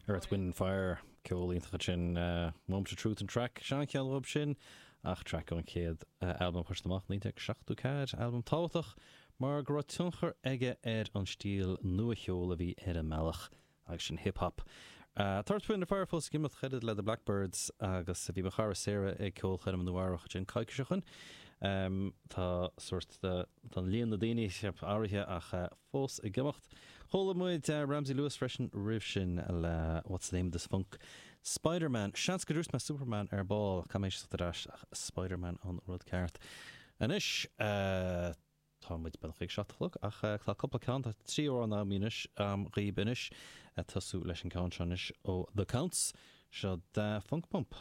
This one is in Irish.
Earth, Wind and Fire, ceol iontach ansin. Moment of Truth an traic, seancheann uathub sin, ach traic ón chéad albam a chuir siad amach, 1974, albam tábhachtach mar go raibh tionchar aige ar an stíl nua-cheoil a bhí ar an mbealach agus sin hip hop. Tá Earth, Wind and Fire fós ag imeacht chomh fada le The Blackbyrds agus bhí mo chara Sarah ag ceolchoirm i Nua Eabhrac ansin coicís ó shin. Tá sórt, tá líon na daoine athraithe ach fós ag imeacht. Chuala muid Ramsey Lewis freisin roimh sin le What's the Name of This Funk? Spider-Man. Seans go dúirt mé Superman ar ball, caithfidh mé éisteacht ar ais ach Spider-Man an rud ceart. Anois, tá muid beagnach ag 7 a chlog ach tá cúpla ceann, tá 3 amhrán agam anois, dhaoib anois, ag tosú leis an ceann seo anois ó The Counts, seo Da Funk Pump.